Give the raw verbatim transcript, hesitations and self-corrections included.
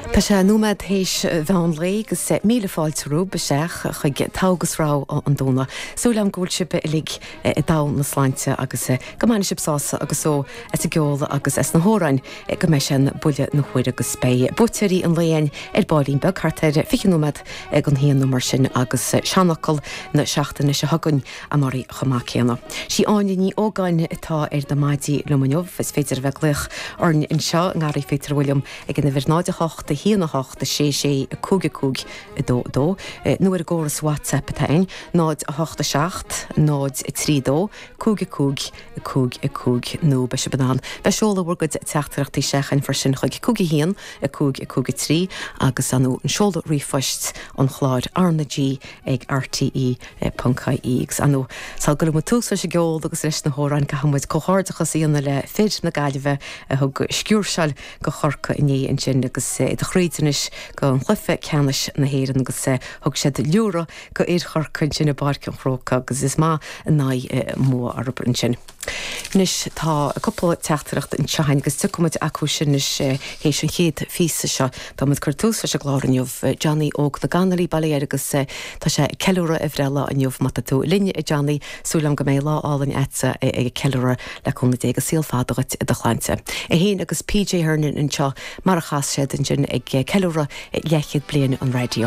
Tá sé nóiméad théis mheán lae agus míle fáilte romhaibh isteach chuig Togha agus Rogha an Domhnaigh. Súil agam go bhfuil sibh uilig i dtogha na sláinte agus go mbainfidh sibh sásamh agus só as an gceol agus as na hamhráin go mbeidh sé in buille na huaire agus beidh buaiteoirí an lae againn ar baillín beag thart ar fiche nóiméad don haon nó mar sin agus seanfhocal na seachtaine seo chugainn amárach chomh maith céanna. Sí Áine Ní Ógáin atá ar na maidí liom inniu, is féidir a bheith ag glaoch orainn anseo i nGarraí Phíotair Bhilliam ag an uimhir náid a hocht a haon a hocht a sé sé a cúig a cúig a dó a dó, nó ar an gcóras WhatsApp atá ann, náid a hocht a seacht, náid a trí dó, cúig a cúig, a cúig a cúig nó beidh sibh in ann bheith ag seoladh bhur gcuid teachtaireachtaí isteach freisin chuig cúig a haon, a cúig a cúig a trí agus nó an seoladh ríomhphoist an chláir R na G ag RTE ponc IE agus nó sula gcuireann muid tús leis an gceol agus leis na hamhráin caithfidh muid comhghairdeachas a dhéanamh le fir na Gaillimhe a thug sciúrsáil go Chorcaigh inné ansin agus iad thríd anois go an chluiche ceannais na hÉireann agus thug siad liúradh go fhir Chorcaí ansin i bPáirc an Chrócaigh agus is maith an aghaidh an bua orthu ansin. Anois tá cúpla teachtaireacht anseo againn agus tiocfaidh muid acu sin anois théis an chéad phíosa seo. Tá muid ag cur tús leis an gclár inniu Johnny Óg na gConnolly bail ó Dhia air agus tá sé ag ceiliúradh a bhreithlá inniu má tá tú linn a Johnny súil agam go mbeidh lá álainn agatsa ag ceiliúradh le cúnamh Dé agus saol fada duit i do shláinte. É féin agus PJ Hernon anseo mar a chas siad ansin ag ceiliúradh leathchéad bliain an raidió.